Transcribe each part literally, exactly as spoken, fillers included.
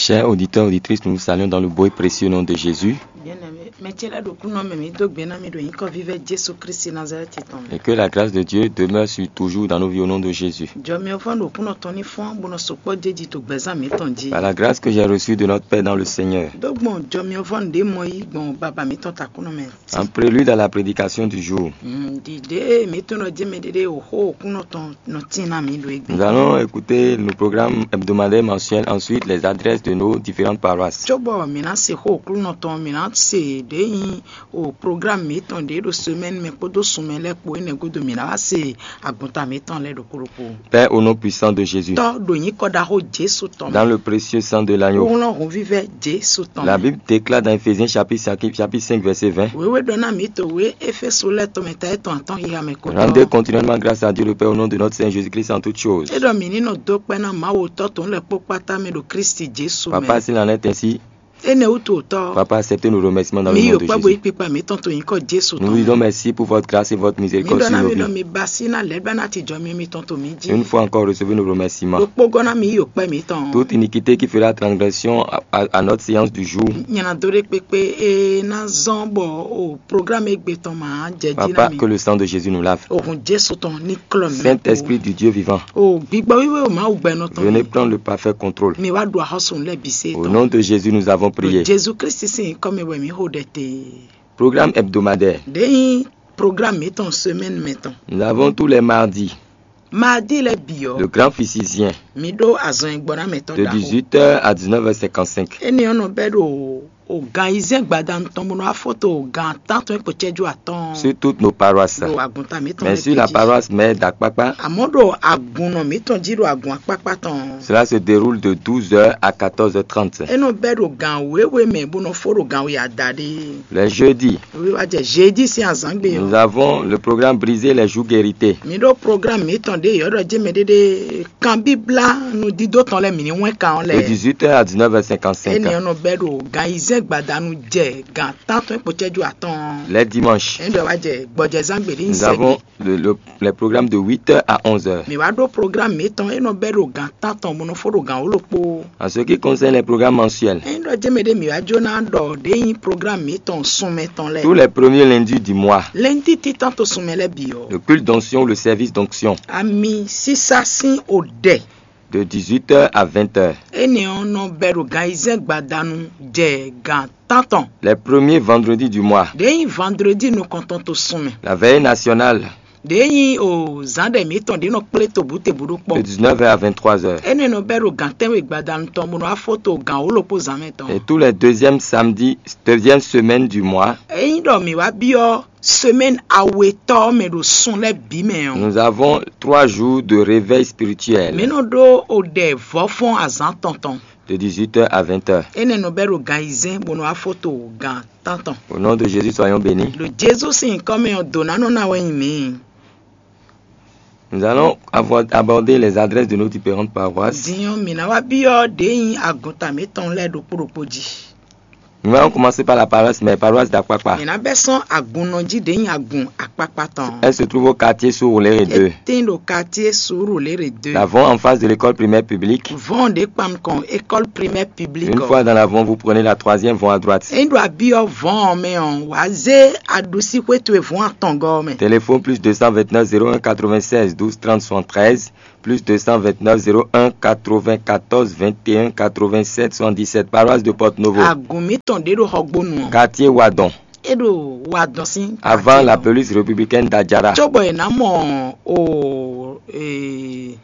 Chers auditeurs, auditrices, nous vous saluons dans le beau et précieux nom de Jésus. Bien-aimé, mɛ ce lɛ́ɛ ɖo kúnɔ mɛ mǐ dó gbe ná mi ɖo nyǐkɔ vívɛ́ Jesu Kristi Nazalɛ́ti tɔn mɛ. Et que la grâce de Dieu demeure sur, toujours dans nos vies au nom de Jésus. Jɔmiɔvɔn ɖo kúnɔ tɔn ní fɔ́n bó nɔ sukpɔ́ jɛjí to gbɛzán mǐtɔn jí. Par la grâce que j'ai reçue de notre Père dans le Seigneur, Dó gbɔn jɔmiɔvɔn ɖě mɔ yí gbɔn baba mǐtɔn takúnɔ mɛ. En prélude à la prédication du jour, Ɖiɖe mǐtɔn nɔ jɛ mɛ ɖeɖe o xó kúnɔ tɔn nɔ tín ná mǐ ɖo égbé. Nous allons écouter nos programmes hebdomadaires mensuels, ensuite les adresses de nos différentes paroisses. Cóbɔ mǐ ná se xó Aklúnɔ tɔn, mǐ ná se ɖě nyí o programme mǐtɔn ɖě ɖo semaine mɛ kpódó sunmɛ lɛ́ɛ kpó énɛ́ gúdo mǐ ná wá se agunta mǐtɔn lɛ́ɛ ɖokpó ɖokpó. Père, au nom puissant de Jésus, Tɔ́ ɖo nyǐkɔ ɖaxó Jesu tɔn dans mɛ. Le précieux sang de l'agneau. Wlɔ́n hǔnvívɛ́ Jesu tɔn La mɛ. Bible déclare dans Éphésiens chapitre cinq, chapitre cinq, verset vingt. Wěwé ɖɔ ná mǐ to wě Éfésu lɛ́ɛ tɔn mɛ ta etɔn atɔn xixa mɛ ko Rendez continuellement grâce à Dieu le Père au nom de notre Seigneur Jésus-Christ en toutes choses. É ɖɔ mǐ ní nɔ dó kpɛ́ ná Mawu Tɔ́ tɔn lɛ́ɛ kpó kpátá mɛ ɖo Klísu Jesu mɛ. Papa, s'il en est ainsi, Énɛ́ wútu Tɔ́, Papa, acceptez nos remerciements dans le nom de Jésus. Mǐ yi kpɔ́ gbe kpikpa mǐtɔn to nyǐkɔ Jesu tɔn mɛ. Nous vous disons merci pour votre grâce et votre miséricorde sur nos vies. Mǐ ɖɔ ná mǐ ɖɔ mi ba sí ná lɛ̌ ɖɔ ná ti jɔ mi mitɔn to mǐ jí. Une fois encore, recevez nos remerciements. Ɖokpógɔ́ ná mǐ yi kpɛ́ mǐtɔn. Toute iniquité qui fera transgression à, à, à notre séance du jour, Nyɛ ná dó ɖé kpékpé e ná zɔ́n bɔ o programme égbé tɔn ma jɛ jí ná Papa, mi. Que le sang de Jésus nous lave. Ohun Jesu tɔn ní klɔ mi. Saint-Esprit du Dieu vivant, O gbigbɔ wíwé o Mawu gbɛnɔ tɔn. Venez prendre le parfait contrôle. Mi wá ɖu axɔ́sùn lɛ́ɛ bǐ se Au nom de Jésus, nous avons prié. Jesu Kristi sín nyǐkɔ mɛ wɛ mǐ xo ɖɛ te. Programme hebdomadaire. Ɖě nyí programme mǐtɔn semaine mɛ tɔn. Nous avons tous les mardis, Mardi lɛ́ɛ bǐ ɔ́, Le grand physicien, Mi ɖó azɔn e gbɔ ná mɛ tɔn de ɖaxó. Dix-huit heures à dix-neuf heures cinquante-cinq. Énɛ́ ɔ́ nɔ bɛ́ ɖo o gan ayizɛ́n gbadanu tɔn bó nɔ wá fó to gan tántɔn e kpo cɛ́jú atɔn. Sur toutes nos paroisses. Ɖo agunta mǐtɔn Mais lɛ́ɛ sur la bǐ jí. Paroisse mère d'Akpakpa, Àmọ́ ɖo agunnɔ mǐtɔn jí ɖo agun akpákpá tɔn. Cela se déroule de douze heures à quatorze heures trente. É nɔ bɛ́ ɖo gan wěwe mɛ bó nɔ fó ɖo gan we adaɖé. Les jeudis, Wíwá jɛ jeudi sín azǎngbe ɔ́. Nous avons le programme Briser les jougs hérissés. Mi ɖó programme mǐtɔn ɖé yɔ̌ɖɔ jɛ́n mɛ ɖéɖé kanbíblá nudídó tɔn lɛ́ɛ mǐ ní wɛ́n kan ɔ́ De lɛ́ɛ. Dix-huit heures à dix-neuf heures cinquante-cinq. Énɛ́ ɔ́ nɔ bɛ́ ɖo gan ayizɛ́n gbadanu jɛ gan tántɔn kpo cɛ́jú atɔn. Les dimanches, Énɛ́ ɖɔ wá jɛ gbɔjɛzán gbe ní Nous avons le, le, les programmes de huit heures à onze heures. Mǐ wá ɖó programme mǐtɔn e nɔ bɛ́ ɖo gan tántɔn bó nɔ fó ɖo gan wǒ ɖokpó. En ce qui concerne les programmes mensuels, Ényí ɖɔ jɛ́n mɛ ɖé mǐ wá jó ná ɖɔ ɖě nyí programme mǐtɔn sunmɛ tɔn lɛ́ɛ. Tous les premiers lundis du mois, Lɛ́ndí títán to sunmɛ lɛ́ɛ bǐ ɔ́. Le culte d'onction ou le service d'onction. Ami sísá sín o ɖɛ. De dix-huit heures à vingt heures. Énɛ́ ɔ́ nɔ bɛ́ ɖo gan ayizɛ́n gbadanu jɛ gan tántɔn. Les premiers vendredis du mois, Ɖě nyí vendredi nukɔntɔn to sunmɛ. La veillée nationale, Ɖě nyí o zǎn ɖɛ mǐtɔn ɖě nɔ kplé tobǔtebǔ ɖó kpɔ́. De dix-neuf heures à vingt-trois heures. Énɛ́ nɔ bɛ́ ɖo gan tɛ́nwe gbadanu tɔn bó nɔ wá fó to gan wǒ ɖokpó zǎn mɛ tɔn. Et tous les deuxièmes samedis, deuxième semaine du mois, Ényí ɖɔ mǐ wá byɔ́ semaine awetɔ́ ɔ́ mɛ ɖo sun lɛ́ɛ bǐ mɛ ɔ́, Nous avons trois jours de réveil spirituel. Mǐ nɔ ɖó o ɖɛ vɔ̌fɔ́n azǎn tɔn tɔn. De dix-huit heures à vingt heures. Énɛ́ nɔ bɛ́ ɖo gan ayizɛ́n bó nɔ wá fó to gan tántɔn. Au nom de Jésus, soyons bénis. Ɖo Jezu sín nyǐkɔ mɛ ɔ́, dǒ ná nɔ ná wɛ nyi mǐ. Nous allons avoir, aborder les adresses de nos différentes paroisses. Din ɔ́, mǐ ná wá byɔ́ ɖě nyí agunta mǐtɔn lɛ́ɛ ɖokpó ɖokpó jí. Nous allons commencer par la paroisse mère, paroisse d'Akpakpa. Mǐ ná bɛ́ sɔ́n agunnɔ jí ɖě nyí agun akpákpá tɔn. Elle se trouve au quartier Sourouléré deux. É tín ɖo quartier Sourouléré deux. L'avant en face de l'école primaire publique. Vɔn ɖě kpan nukɔn école primaire publique. Une fois dans l'avant, vous prenez la troisième vont à droite. Ényí ɖo abyɔ́ vɔn ɔ́ mɛ ɔ́, wǎ zé aɖusíxwé towe vɔn atɔngɔ́ ɔ́ mɛ. Téléphone plus deux cent vingt-neuf zéro un quatre-vingt-seize douze trente soixante-treize, plus deux cent vingt-neuf zéro un quatre-vingt-quatorze vingt et un quatre-vingt-sept soixante-dix-sept, paroisse de Porto Novo. Agun mǐtɔn ɖě ɖo Xɔgbónu ɔ́. Quartier Wadon. É ɖo Wadɔn sín. Avant la police républicaine d'Adjara. Cóbɔ è nǎ mɔ o e,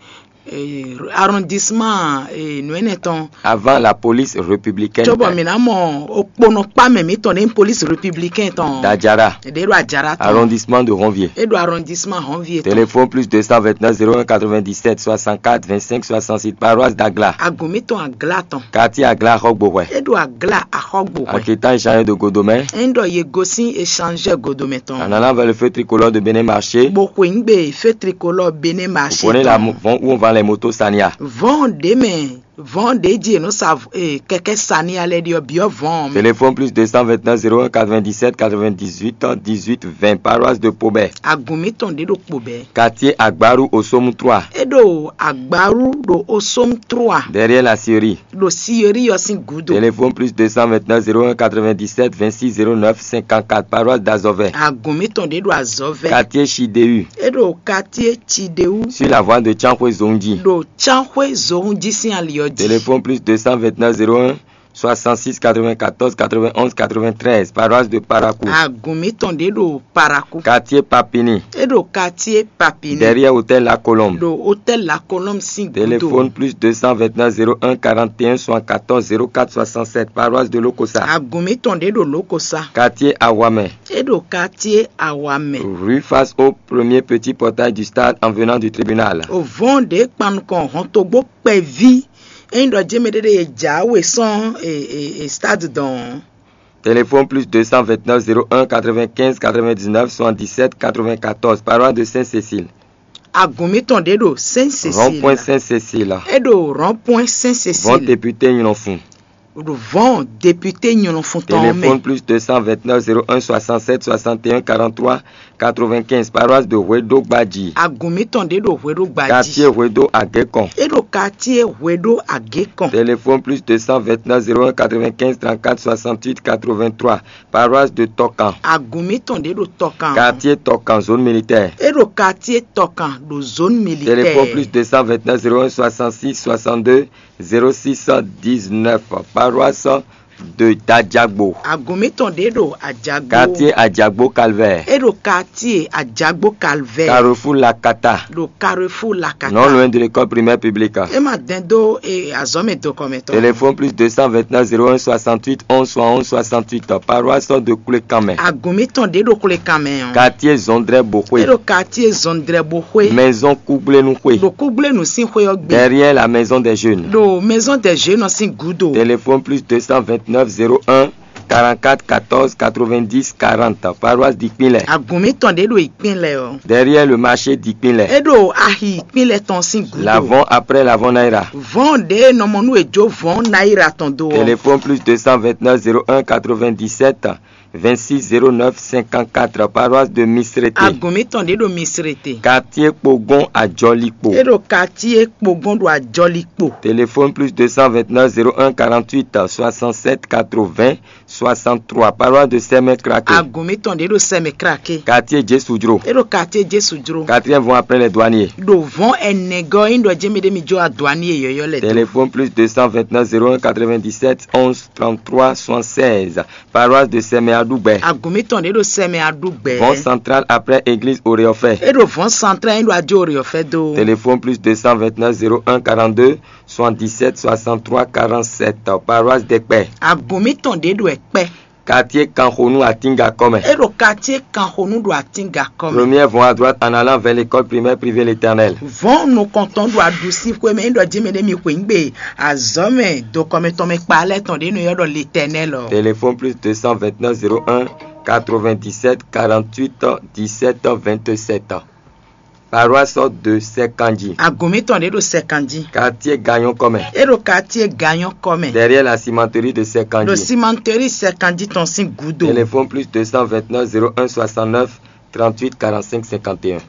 e, arrondissement e, nǔ énɛ́ tɔn. Avant la police républicaine. Cóbɔ mǐ ná mɔ okponɔkpá mɛ mǐtɔn ɖě nyí police républicaine tɔn. D'Adjara. Ɖě ɖo Adjara tɔn. Arrondissement de Ronvier. É ɖo arrondissement Ronvier tɔn. Téléphone plus deux cent vingt-neuf zéro un quatre-vingt-dix-sept soixante-quatre vingt-cinq soixante-six, paroisse d'Agla. Agun mǐtɔn Agla tɔn. Quartier Agla Axɔgbohwɛ. É ɖo Agla Axɔgbohwɛ. En quittant échangeur de Godomɛ. Ényí ɖɔ yě gosín échangeur Godomɛ tɔn. En allant vers le feu tricolore de Bénin Marché. Bó xweyǐgbe feu tricolore Bénin Marché tɔn. Vous prenez la mo-, vente où on vend les motos Sania. Vɔn ɖě mɛ Vɔ̌n ɖě jí è nɔ sa v- eh, kɛkɛ́ sani alɛ ɖi ɔ́ byɔ́ vɔ̌n ɔ́ mɛ. Téléphone plus deux cent vingt-neuf zéro un quatre-vingt-dix-sept quatre-vingt-dix-huit dix-huit vingt, paroisse de Pobɛ. Agun mǐtɔn ɖě ɖo kpo bɛ́. Quartier Agbaru au Somme trois. É ɖo Agbaru ɖo Osom trois, Derrière la scierie. Ɖo Siyeri ɔ́ sín gǔdo. Téléphone plus deux cent vingt-neuf zéro un quatre-vingt-dix-sept vingt-six zéro neuf cinquante-quatre, paroisse d'Azɔvɛ. Agun mǐtɔn ɖě ɖo Azɔvɛ. Quartier Chidéhu. É ɖo quartier Chidéhu. Sur la voie de Chanxwe Zonji. Ɖo Chanxwe Zohunji sín ali ɔ́ jí. Téléphone plus deux cent vingt-neuf zéro un soixante-six quatre-vingt-quatorze quatre-vingt-onze quatre-vingt-treize, paroisse de Parakou. Agun mǐtɔn ɖě ɖo Parakou. Quartier Papini. É ɖo quartier Papini. Derrière hôtel La Colombe. Ɖo hôtel La Colombe sín Téléphone gúdo. Plus deux cent vingt-neuf zéro un quarante et un soixante-quatorze zéro quatre soixante-sept, paroisse de Lokosa. Agun mǐtɔn ɖě ɖo Lokosa. Quartier Awamɛ. É ɖo quartier Awamɛ. Rue face au premier petit portail du stade en venant du tribunal. Ovɔn ɖě kpan nukɔn hɔntogbó kpɛví. Ényí ɖɔ jɛ́n mɛɖé ɖé e jǎwe sɔ́n e, e, e stade dɔn. Téléphone plus deux cent vingt-neuf zéro un quatre-vingt-quinze quatre-vingt-dix-neuf soixante-dix-sept quatre-vingt-quatorze, paroisse de Sainte-Cécile. Agun mǐtɔn ɖě ɖo Saint Rond-point Cécile. Sainte-Cécile. É ɖo rond-point Saint Vɔn Cécile. Député Nylɔnfun. Ɖo vɔn député Nylɔnfun tɔn Téléphone mɛ. Plus deux cent vingt-neuf zéro un soixante-sept soixante et un quarante-trois quatre-vingt-quinze, paroisse de Hwedo Gbadji. Agun mǐtɔn ɖě ɖo Hweɖo Gbadji. Quartier Hwedo Agékon. É ɖo quartier Hweɖo Agékɔn. Téléphone plus deux cent vingt-neuf zéro un quatre-vingt-quinze trente-quatre soixante-huit quatre-vingt-trois, paroisse de Tokan. Agun mǐtɔn ɖě ɖo Tɔkan. Quartier Tokan, zone militaire. É ɖo quartier Tɔkan ɖo zone militaire. Téléphone plus deux cent vingt-neuf zéro un soixante-six soixante-deux zéro six dix-neuf, paroisse de Dadjagbo. Agun mǐtɔn ɖě ɖo Ajagbo. Quartier Adjagbo Calvaire. É ɖo quartier Ajagbo Calvaire. Carrefour Lakata. Ɖo Carrefour Lakata. Non loin de l'école primaire publique. É ma dɛn dó e azɔ̌mɛ dokɔmɛtɔ. Téléphone plus deux cent vingt-neuf zéro un soixante-huit onze soixante-onze soixante-huit, paroisse de Koulékamé. Agun mǐtɔn ɖě ɖo Koulékamé ɔ́. Quartier Zondré É Bokhwe. ɖo quartier Zondré Bokhwe. Maison Kougblénoukhwe. Ɖo Kúgblénu sín xwé ɔ́ gbe. Derrière la maison des jeunes. Ɖo maison des jeunes ɔ́ sín gúdo. Téléphone plus deux cent vingt-neuf zéro un quarante-quatre quatorze quatre-vingt-dix quarante, paroisse d'Ikpinlé. Agun mǐtɔn ɖě ɖo Ikpinlé ɔ́. Derrière le marché d'Ikpinlé. É ɖo axi Ikpinlé tɔn sín gúdo. L'avant après l'avant Naira. Vɔn ɖě nɔmɔnú e jó vɔn náírà tɔn dó ɔ́. Téléphone plus deux cent vingt-neuf zéro un quatre-vingt-dix-sept vingt-six zéro neuf cinquante-quatre, paroisse de Misrété. Agun mǐtɔn ɖě ɖo Misrété. Quartier Pogon à Djolikpo. É ɖo quartier Kpogɔn ɖo Ajɔlikpo. Téléphone plus deux cent vingt-neuf zéro un quarante-huit soixante-sept quatre-vingts soixante-trois, paroisse de Seme Kraké. Agun mǐtɔn ɖě ɖo Seme Kraké. Quartier Djesudro. É ɖo quartier Jesu jro. Quatrième vent après les douaniers. Ɖo vɔn ɛnɛ gɔ́ ɔ́ nyí ɖɔ jɛ́n mɛ ɖé mi jó aduani e yɔ̌yɔ́ lɛ dó. Téléphone plus deux cent vingt-neuf zéro un quatre-vingt-dix-sept onze trente-trois soixante-seize, paroisse de Seme Adoubè. Agun mǐtɔn ɖě ɖo Seme Adoubè. Vent central après église Oréofé. É ɖo vɔn central é ɖo adó Oréofé dó. Téléphone plus deux cent vingt-neuf zéro un quarante-deux soixante-dix-sept soixante-trois quarante-sept, paroisse d'Ekpé. Agun mǐtɔn ɖě ɖo Ekpé. Quartier Kanxonu à Tingakɔmɛ. É ɖo quartier Kanxonu ɖo Atingakɔmɛ. Premier vent à droite en allant vers l'école primaire privée l'Éternel. Vɔn nukɔntɔn ɖo aɖusi xwé mɛ é ɖɔ jɛ́n mɛ ɖé mi xwé ŋgbe azɔ̌mɛ dokɔmɛtɔn mɛ kpa lɛ́ tɔn ɖě nɔ ylɔ́ ɖɔ l'Éternel ɔ́. Téléphone plus deux cent vingt-neuf zéro un quatre-vingt-dix-sept quarante-huit dix-sept vingt-sept. Paroisse de Sɛkanji. Agun mǐtɔn ɖě ɖo Sɛkanji. Quartier Gagnon kɔmɛ. É ɖo quartier Gagnon kɔmɛ. Derrière la cimenterie de Sɛkanji. Ɖo cimenterie Sɛkanji tɔn sín gúdo. Téléphone plus deux cent vingt-neuf zéro un soixante-neuf trente-huit quarante-cinq cinquante et un.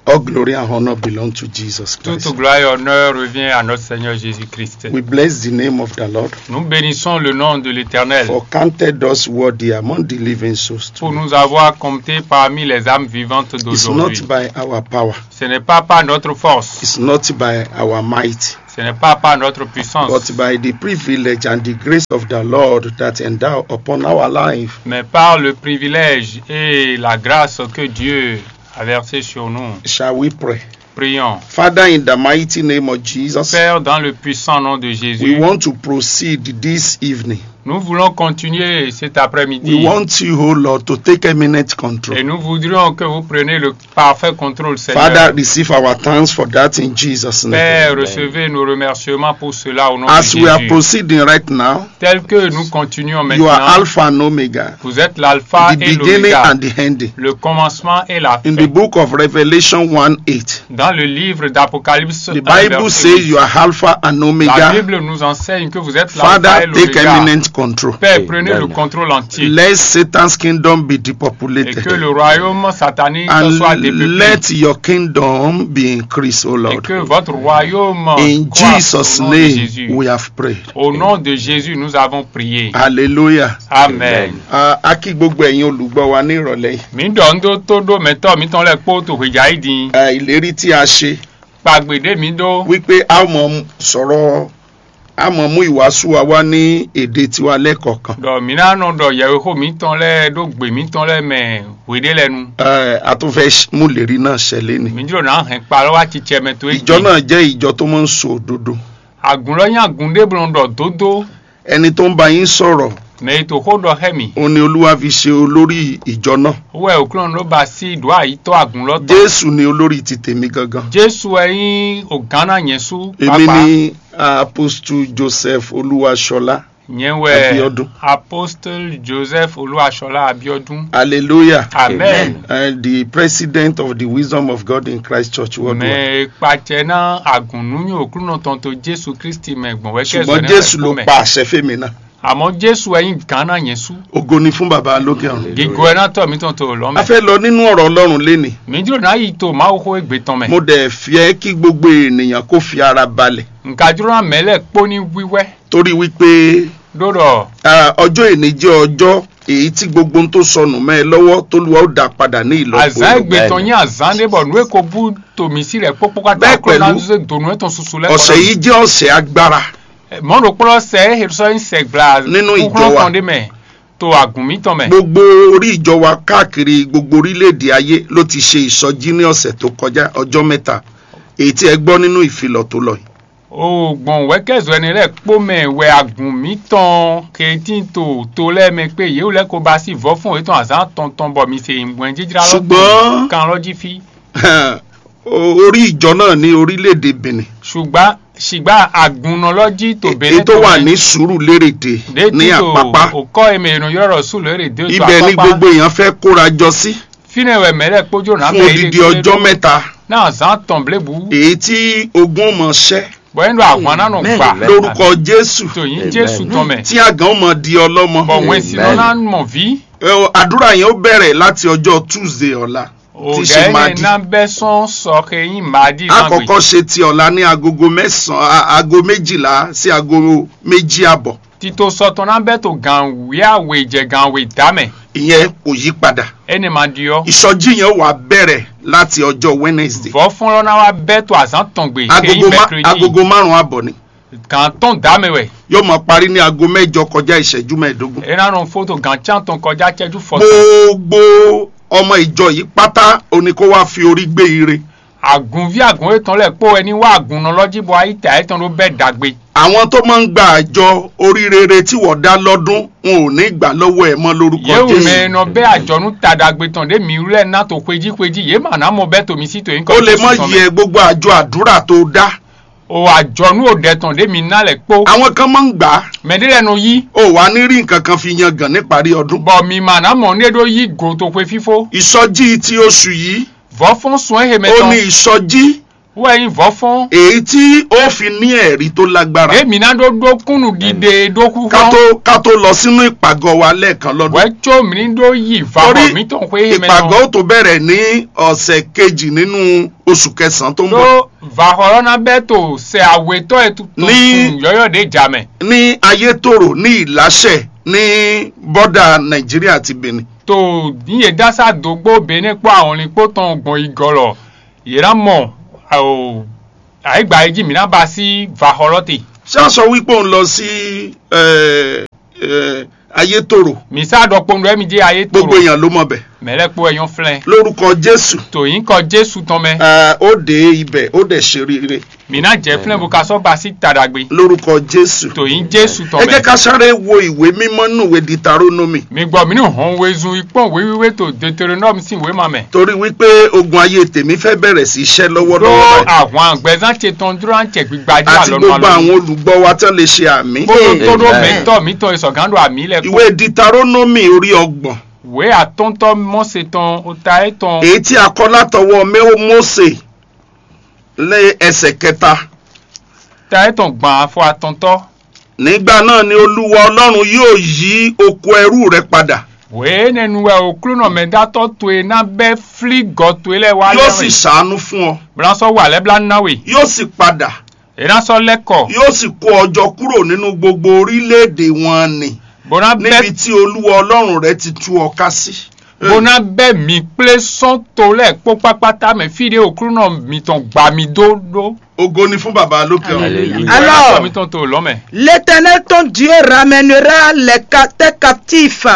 All glory and honor belong to Jesus Christ. Toute gloire et honneur revient à notre Seigneur Jésus-Christ. We bless the name of the Lord Nous bénissons le nom de l'Éternel for counted us worthy among the living souls. Pour nous avoir comptés parmi les âmes vivantes It's d'aujourd'hui. Not by our power, Ce n'est pas par notre force, it's not by our might, ce n'est pas par notre puissance, but by the privilege and the grace of the Lord that endow upon our life. Mais par le privilège et la grâce que Dieu a versé sur nous. Shall we pray? Prions. Father, in the mighty name of Jesus, Père, dans le puissant nom de we Jésus, want to proceed this evening Nous voulons continuer cet après-midi. We want you, oh Lord, to take eminent control. Et nous voudrions que vous preniez le parfait contrôle, Seigneur. Father, receive our thanks for that in Jesus' name. Père, recevez nos remerciements pour cela au nom de Jésus. As we are proceeding right now, Tel que nous continuons maintenant, you are Alpha and Omega, vous êtes l'alpha et l'oméga, the beginning and the ending. Le commencement et la fin. In the book of Revelation one eight, dans le livre d'Apocalypse, the Bible says you are Alpha and Omega. La Bible nous enseigne que vous êtes l'alpha et l'oméga. Father, take eminent control. Père, prenez le contrôle entier. Let Satan's kingdom be depopulated. Et que le royaume satanique soit dépeuplé. And let your kingdom be increased, O Lord. Et que votre royaume croisse au nom de Jésus. In Jesus' name we have prayed. Au nom de Jésus, nous avons prié. Hallelujah. Amen. Ah, a kí gbogbo ẹ̀yin olùgbọ́ wa ní ìrọ̀lẹ́ yìí. Mǐ ɖɔ nú ɖó tó ɖó mɛtɔ́ mǐtɔn lɛ́ɛ kpó to hwejǎ yi din. Ah, ìlérí tí a ṣe. Kpagbe ɖé mǐ ɖó. Wípé a ó mọ sọ̀rọ̀, a mọ mú ìwàásù wa wá ní èdè tiwa lẹ́kọ̀ọ̀kan. Ɖɔ mǐ ná nɔ ɖɔ yɛwexó mǐtɔn lɛ́ɛ ɖó gbe mǐtɔn lɛ́ɛ mɛ hweɖé lɛ́ɛ nu. Eh, a tún fẹ́ mú ìlérí náà ṣẹ lénìí. Mǐ jló ná hɛn kpalɔ́ wá cicɛ mɛ towe. Ìjọ náà jẹ́ ìjọ tó máa ń sọ òdodo. Àgùn lɔ nyí àgùn ɖé blɔ́ ɖɔ dódó. Ẹni tó ń bá yín sọ̀rọ̀, mɛ e to xó ɖɔ xɛ mì. Òun ni Olúwa fi ṣe olórí ìjọ náà. Wɛ òkúlɔ̀n ló ba sí ɖó àyítọ́ àgùn lɔ tɔn. Jésù ni olórí ti tèmi gangan. Jésù wɛ nyí ògán ná nyɛ sú. Èmi pàápàá ni Apostle Joseph Olúwaṣọlá. Nyɛ wɛ Abiodun. Apostle Joseph Olúwaṣọlá Abiodun. Hallelujah. Amen. And the president of the Wisdom of God in Christ Church worldwide. Mɛ kpacɛ ná àgùn nú nyí òkúlɔ̀n tɔn tó Jésù Kristi mɛ gbɔn wɛ kɛ. Ṣùgbọ́n Jésù ló pa àṣẹ fẹ́mi náà. Àmọ́ Jésù wɛ nyí gǎn ná nyɛ sú. Ògo ni fún Baba lókè ọ̀run. Gígó ẹ ná tọ̀ mí tɔn tó lọ́ mẹ́. A fẹ́ lọ nínú ọ̀rọ̀ Ọlọ́run lénìí. Mǐ jló ná yi to Mawu xó égbé tɔn mɛ. Mo dẹ̀ fẹ́ kí gbogbo ènìyàn kó fi ara balẹ̀. Nka jló ná mɛ lɛ́ɛ kpó ní wíwẹ́. Torí wípé ɖó ɖɔ ah, ọjọ́ èní jẹ́ ọjọ́ èyí tí gbogbo ohun tó sọnù mẹ́ ẹ lọ́wọ́ t'Olúwa ó dá padà ní ìlọ́po azǎn ìlọ́po. Égbé tɔn nyí azǎn ɖé bɔ nǔ e ko bú to mǐ sí lɛ́ɛ kpókpó káká. Bẹ́ẹ̀ kó ná pẹ̀lú, zé donu etɔn susu lɛ́ɛ. Ọ̀sẹ̀ yìí jẹ́ ọ̀sẹ̀ agbára. Mɔ̌ ɖokpó lɔ sɛ é sɔ́ nyí sɛgbla nínú ìjọ wa. Kúkúrú tɔn ɖé mɛ to àgùn mǐtɔn mɛ. Gbogbo orí ìjọ wa káàkiri gbogbo orílẹ̀-èdè ayé ló ti ṣe ìsọjí ní ọ̀sẹ̀ tó kọjá, ọjọ́ mẹ́ta, èyí tí ẹ gbọ́ nínú ìfilọ̀ tó lọ yìí. O gbɔn wɛkɛzɔ ɛnɛ lɛ́ɛ kpó mɛ wɛ àgùn mǐtɔn khetín to to lɛ́ɛ mɛ kpé yě wú lɛ́ɛ ko ba sí vɔ́fún yětɔn azǎn tɔntɔn bɔ mi se nyǐgwɛ́n jijlá lɔ. Ṣùgbọ́n kan lɔ jí fí. O- orí ìjọ náà ní orílẹ̀-èdè Benin. Ṣùgbọ́n ṣùgbọ́n àgùnnà lọ jí tó Benin tó wà ní Sùúrùlérè dé ní Àpápá. Òkọ́ èmi ènìyàn yọ̀rọ̀ sùn lérè dé tó Àpápá. Ibẹ̀ ni gbogbo èèyàn fẹ́ kóra jọ sí. Fínɛ́ wɛ mɛ̌ lɛ́ɛ kpójó nǎ fún odidi ọjọ́ mẹ́ta. Náà zán tɔn blébu. Èyí tí ogun ó mọ ṣẹ́. Bɔ̌ é ɖo ahwan ná nɔ gbà. Lórúkọ Jésù. Tòyí Jésù tɔn mɛ. Tí àgàn ó mọ di ọlọ́mọ. Bɔ wɛn si nɔ ná mɔ ví. Ẹ o, àdúrà yẹn ó bẹ̀rẹ̀ láti ọjọ́ Tuesday ọ̀la. Tí ṣe Madi. Ná bẹ́ sán sọ xe yín Madi náà gbé. Àkọ́kọ́ ṣe ti ọ̀la ní agogo mẹ́sàn-án, a- aago méjìlá sí aago méjì àbọ̀. Tito sɔtɔn ná bɛ to gan wíyáwé jɛ gan wé dá mɛ. Ìyẹn kò yí padà. Ẹni ma di ɔ. Ìsọjí yẹn wà bẹ̀rẹ̀ láti ọjọ́ Wednesday. Vɔfɔlɔ ná wá bɛ to azán tɔn gbé. Agogo ma- agogo márùn-ún àbọ̀ ni. Gan tɔn dá mɛ wɛ. Yóò máa parí ní aago mẹ́jọ kọjá ìṣẹ́jú mẹ́ẹ̀ẹ́dógún. Ena nɔ foto gan can tɔn kọjá cɛjú fɔtɔn. Gbogbo ọmọ ìjọ yìí pátá o ní kó wá fi orí gbé ire. Àgùnví àgùn etɔn lɛ kpó wɛ ní wá àgùnnɔ lɔ jí bɔ ayíta etɔn ɖó bɛ dagbe. Àwọn tó máa ń gba àjọ orí rere tí wọ́n dá lọ́dún, wọn ò ní gbà lọ́wọ́ ẹ mọ́ lórúkọ Jésù. Yéwu mɛ nɔ bɛ àjɔnú ta dagbe tɔn ɖé mi wlɛ ná to xwejí xwejí yé mà ná mɔ bɛ to mi sí to nyí kɔ. Ó lè mọ yẹ gbogbo àjọ àdúrà tó dá. O àjɔnú o ɖɛ tɔn ɖé mi ná lɛ kpó. Àwọn kan máa ń gbà á. Mɛ ɖé lɛ nɔ yí. O wà ní rí nǹkan kan fi yan gàn ní parí ọdún. Bɔ mi mà ná mɔ ní ɖó yí go to xwe fífó. Ìsọjí ti oṣù yìí. Vɔfɔn sun ehe mɛ tɔn. Ó ní ìsọjí. Wɛ nyi vɔfɔn. Èyí tí ó fi ní ẹ̀rí tó lágbára. Èmi ná ɖó ɖó kúnnù ɖiɖe ɖó kú. Ká tó ká tó lọ sínú ìpàgọ́ wa lẹ́ẹ̀kan lọ́dún. Wɛ tso mi ní ɖó yí va xɔ mi tɔn xwe ehe mɛ tɔn. Ìpàgọ́ ó tó bẹ̀rẹ̀ ní ọ̀sẹ̀ kejì nínú oṣù kẹsàn-án tó ń bọ̀. Ɖó vaxɔlɔ ná bɛ to sɛ awetɔ e to Ní- sun yɔyɔ ɖe ja mɛ. Ní Ayétòrò ní Ìláṣẹ ní bọ́dà Nàìjíríà àti Benin. To ní yě dá sá dógbó Benin kpó ahɔnlin kpó tɔn gbɔn igɔlɔ yě ná mɔ o ayigba yi jí mǐ ná ba sí vaxɔlɔ te. Ṣé a sọ wípé òun lọ sí ẹ, ẹ, Ayétòrò? Mi sá ɖɔ kpɔn ɖɔ mi jẹ́ ayé gbogbo toro. Èèyàn ló mọ̀ bẹ́ẹ̀. Mɛ lɛ́ɛ kpó wɛ nyɔ́ flɛ́n. Lórúkọ Jésù. Tò nyǐkɔ Jésù tɔn mɛ. Ẹ, ó ɖe ibẹ̀, ó ɖe ṣe rere. Mǐ ná jɛ flɛ́n bó ka sɔ́ gba sí ta ɖagbe. Lórúkọ Jésù. Tò nyí Jésù tɔn Ẹ jẹ́ mɛ. Ká sáré wo ìwé mímọ́ nínú ìwé Deuteronomy. Mi gbɔ mǐ ní hɔn wezun yi kpɔ́n wěwíwé to Deuteronome sín wěma mɛ. Torí wípé ogun ayé tèmi fẹ́ bẹ̀rẹ̀ sí í ṣẹ́ lọ́wọ́lọ́wọ́ Ɖó báyìí. Ahwan gbɛzán ce tɔn dló ná cɛ gbigba jí Àti alɔnu gbogbo alɔnu. Àwọn olùgbọ́ wa tán lè ṣe àmì. Kpódó tó ɖó Amen. Mɛtɔ́ mǐtɔn e sɔgǎn ɖo amǐ lɛ́ɛ kpó. Ìwé Deuteronomy orí ọgbọ̀n. Wě atɔ́ntɔ́ Mose tɔn ota etɔn. Èyí tí a kọ́ látọwọ́ Mé-, Mósè lé ẹsẹ̀ kẹta. Ta etɔn gbɔn afɔ atɔntɔ́. Nígbà náà ni Olúwa Ọlọ́run yóò yí oko ẹrú rẹ padà. Wěénɛnu wɛ Oklúnɔ mɛdátɔ́ towe ná bɛ́ flí gɔ towe lɛ́ɛ wá Yóò lɛ́ɛ sì wɛ. Ṣàánú fún ọ. Bó ná sɔ́ wa lɛ́ blá ná we. Yóò sì padà. É ná sɔ́ lɛ́ kɔ. Yóò sì kó ọ jọ kúrò nínú gbogbo orílẹ̀-èdè wọn nì. Bó ná bɛ́ Níbi tí Olúwa Ọlọ́run rẹ ti tú ọ ká sí. Bó ná bɛ́ mǐ kplé sɔ́n to lɛ́ɛ kpó kpákpátá mɛ fí ɖé Oklúnɔ mǐtɔn gba mi dó ɖó. Ògo ni fún Baba lókè ọ̀run. Hallelujah. Alors, Tɔ́ mǐtɔn to lɔ̌ mɛ. L'Éternel ton Dieu ramènera les ca-, tes captifs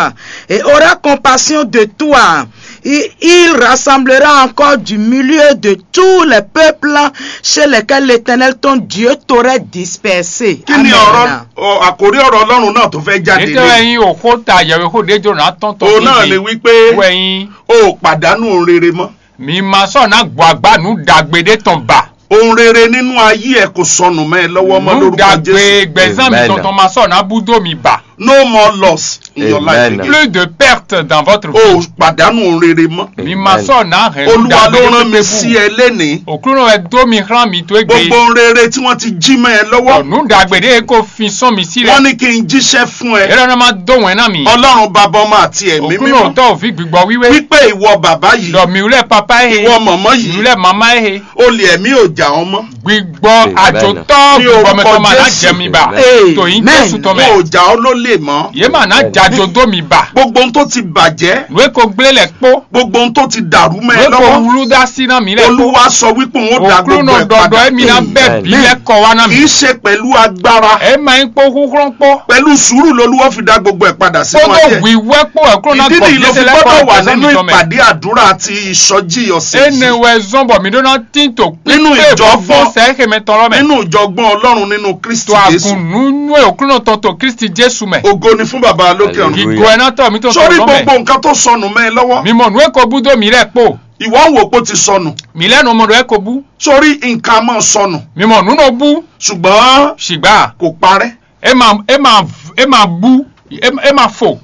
et aura compassion de toi. Il, il rassemblera encore du milieu de tous les peuples chez lesquels l'Éternel ton Dieu t'aurait dispersé. Kí ni Amen. Ọ̀rọ̀ ọ, àkórí ọ̀rọ̀ Ọlọ́run náà tó fẹ́ jáde Nítorí lé? Ẹ̀yin òkúta yẹ̀wé kó dé jòrò náà tán tán Òun náà ni wípé wẹ̀yìn. O ò pàdánù ohun rere mọ́. Mi ma sɔ́ ná gbɔ agbá nǔ ɖagbe ɖé tɔn ba. Ohun rere nínú ayé ẹ kò sọnù mọ́ ẹ lọ́wọ́ mọ́ Nǔ lórúkọ Jésù. Ɖagbe gbɛzán mi Amen. Tɔntɔn ma sɔ́ ná bú dó mi ba. No more loss in your life Amen. Again. Plus de perte dans votre O ò vie. Pàdánù ohun rere mọ́. Mi ma Amen. Sɔ́ ná hɛn nǔ Olúwa ló ɖagbe rán mi pépé sí bú. Ẹ lénìí. Òkúrò ẹ dó mi xlán mi tó é gbé. Gbogbo ohun rere tí wọ́n ti jí mọ́ ẹ lọ́wọ́. Nǔ ɖagbe ɖé e ko fin sɔ́n mi sí Wọ́n lɛ. Ní kí n jíṣẹ́ fún ẹ. Yẹ́rọ náà má dó wɛn ná mi. Ọlọ́run bàbá ọmọ àti ẹ̀mí Òkúrò mímọ́. Tọ́ òfin gbígbọ́ wíwé. Wípé ìwọ bàbá yìí. Lọ mi wúlẹ̀ papa é he. Ìwọ màmá yìí. Mi wúlẹ̀ màmá é he. Olè ẹ̀mí ò jà ọ́ mọ́. Gbígbọ́ Amen. Àjòtọ́ Ní gbígbọ́ orúkọ mẹ́tọ́ máa ná Jésù. Jẹ mi bà. Amen. Tòyí Amen. Jésù tán Wọn mẹ́. Ò jà ọ́ lólè mọ́. Yé mà ná Amen. Jàjò dó mi bà. Gbogbo ohun tó ti bàjẹ́. Nú é ko gblé lẹ̀ kpó. Gbogbo ohun tó ti dàrú mẹ́ ẹ Nú é ko lọ́wọ́. Wúlú dá sí ná mi lẹ̀ kpó. Olúwa sọ wípé òun ó da Òkúrò gbogbo náà ẹ̀ padà. Dọ̀dọ̀ ẹ̀mí ná bẹ́ẹ̀ Amen. Bí lẹ́kọ̀ọ́ wá ná mi. Kì í ṣe pẹ̀lú agbára. Ẹ máa ń kpó húnhrán kpó. Pẹ̀lú sùúrù lolúwa fi dá gbogbo ẹ̀ padà sínú Kpódó ayé. Wíwẹ́ kpó ẹ̀kúrò náà Ìdí nìyí ló fi gbọ́dọ̀ wà nínú ìpàdé àdúrà àti ìsọjí ọ̀sẹ̀ Ene yìí. Wɛ zɔn bɔ mi ɖó ná tín to Nínú kpíkpé ìjọgbọ́n- gbogbo sɛ xɛmɛ tɔn lɔ mɛ. Nínú ìjọgbọ́n Ọlọ́run nínú Kristi To Jésù. Agun nú nú òkúrò tɔn to Kristi Jésù mɛ. Ògo ni fún Baba lókè ọ̀run. Hallelujah. Gígó ẹ ná tɔ mi tó Sórí tɔn gbogbo mɛ. Nǹkan tó sọnù mẹ́ ẹ lọ́wọ́. Mi mọ nú ẹ ko bú dó mi lẹ kpo. Ìwọ ń wò pé ó ti sọnù. Mi lẹ́nu ọmọ rẹ ko bú. Sórí nǹkan máa sọnù. Mi mọ nú nọ bú. Ṣùgbọ́n Ṣùgbọ́n kò parẹ́. Ẹ máa ẹ máa ẹ máa bú ẹ ẹ máa fò.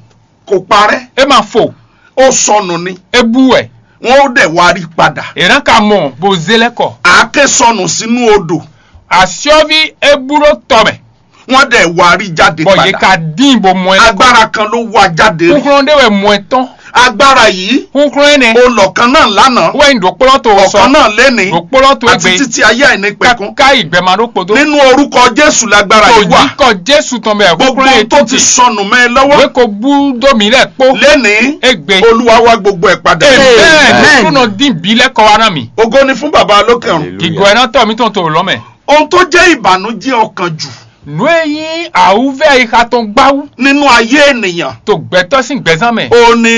Kò parẹ́. Ẹ máa fò. Ó sọnù ni. Ẹ bú ẹ. Wọ́n ó dẹ̀ wá rí padà. Ìran ka mọ̀ bó zé lẹ́kọ̀. Àáké sọnù sínú odò. Àṣọ́bí ẹ bú ló tọ̀ mẹ́. Wọ́n dẹ̀ wá rí jáde Bọ̀ yìí padà. Ka dín bó mọ ẹ lẹ́kọ̀. Agbára kan ló wá jáde rí. Kúkúrú dé wẹ̀ mọ ẹ tán. Agbára yìí, Kúkúrú ẹ nẹ. Ó lọ kan náà lánàá. Wẹ́n dòkpólọ́ tó sọ. Ọ̀kan náà lénìí. Dòkpólọ́ tó Àti gbé. Títí ayé àìnípẹ̀kun. Ká ìgbẹ́mà ló kpodó. Nínú orúkọ Jésù lágbára yìí wà. Kò yí kọ Jésù tán bẹ́ẹ̀. Gbogbo Kúkúrú ẹ ohun tó ti títì. Sọnù mẹ́ ẹ lọ́wọ́. Wé ko bú dómi rẹ̀ kpó. Lénìí, Egbe. Olúwa wá gbogbo ẹ̀ padà. Amen. Amen. Kúnà dín bí lẹ́kọ̀ọ́ wa náà mi. Ògo ni fún Bàbá lókè ọ̀run. Hallelujah. Gígọ ẹ náà tọ̀ mí tán tó lọ́ mẹ́. Ohun tó jẹ́ ìbànújẹ́ ọkàn jù. Nú e nyí àwùvẹ́ ìxa tɔn gbáwú. Nínú ayé ènìyàn. Tó gbẹ́tọ́ sí gbẹ̀zán mẹ́. Ó ní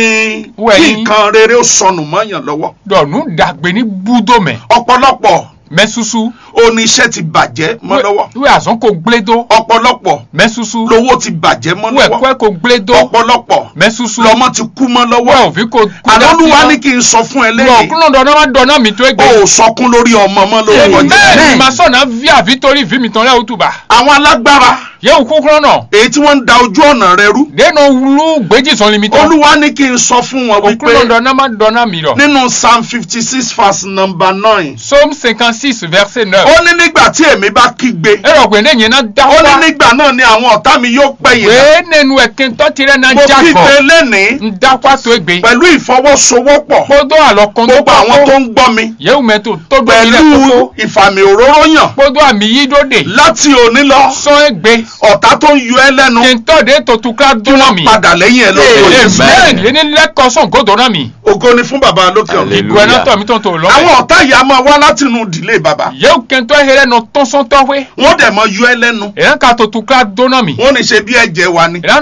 Wẹ̀ kí yín. Nǹkan rere ó sọnù mọ́ yàn lọ́wọ́. Dọ̀ nú dàgbé ní búdó mẹ́. Ọ̀pọ̀lọpọ̀ Mẹ́ susu. Ó ní iṣẹ́ ti bàjẹ́ mọ́ lọ́wọ́. Wíwẹ̀ àzán kò gblé dó. Ọ̀pọ̀lọpọ̀ Mẹ́ susu. Lówó ti bàjẹ́ mọ́ Wíwẹ̀ lọ́wọ́. Kọ́ ẹ kò gblé dó. Ọ̀pọ̀lọpọ̀ Mẹ́ susu. Lọ́mọ ti kú mọ́ lọ́wọ́. Wíwẹ̀ òfin kò kú Àlọ́ Olúwa ní kí n sọ fún ẹ Lọ lẹ́yìn. Kúnlọ̀ dọ̀nà má dọ̀nà mi tó é gbé. O ò sọkún lórí ọmọ mọ́ lórúkọ Jésù. Amen. Màá sọ̀nà ví àbí torí ìví mi tán lẹ́ òtúbà. Àwọn alágbára Yẹ òkú kúrò náà. Èyí tí wọ́n ń da ojú ọ̀nà rẹ rú. Dènà wúlú gbèjì sọ̀lì mi tán. Olúwa ní kí n sọ fún wọn Òkú wípé náà dọ̀nà má dọ̀nà mi lọ. Nínú Psalm fifty six verse number nine. Psaume cinquante-six verset neuf. Ó ní nígbà tí èmi bá kígbe. Ẹ rọ̀ gbẹ̀ndé yẹn náà dá Ó ní wá. Nígbà náà ni àwọn ọ̀tá mi yóò pẹ̀yìn dà. Wèé nẹnu ẹ̀kẹ́ tọ́ tirẹ̀ náà Mo já kígbe gọ̀. Lénìí Ń dá wá tó gbé. Pẹ̀lú ìfọwọ́sowọ́pọ̀. Kpódó àlọ́ kan tó Gbogbo àwọn tó ń gbọ́ mi. Yẹ́wù mẹ́tò tó gbé mi lẹ̀ Pẹ̀lú kókó. Ìfàmì òróró yàn. Kpódó àmì yí dó dè. Láti òní lọ. Sọ é gbé. Ọ̀tá tó ń yọ ẹ́ lẹ́nu. Kì í tọ́ de tó tukla dún náà mi. Padà lẹ́yìn ẹ̀ lórúkọ Jésù. Amen. Yé ní lẹ́kọ̀ọ́ sọ̀n gòdò náà mi. Ògo ni fún bàbá lókè ọ̀run. Hallelujah. Ìgò ẹ̀ náà tọ̀ mí tó ń tó lọ́mọ. Àwọn ọ̀tá yìí a máa wá láti inú ìdílé bàbá. Yẹ́wù kẹ́ńtọ́ hẹ́rẹ́ nọ tọ́sọ́ntọ́ hwé. Wọ́n dẹ̀ mọ yọ ẹ́ lẹ́nu. Èyàn ka tó tukla dún náà mi. Wọ́n ní ṣe bí ẹ̀jẹ̀ wa ni. Èyàn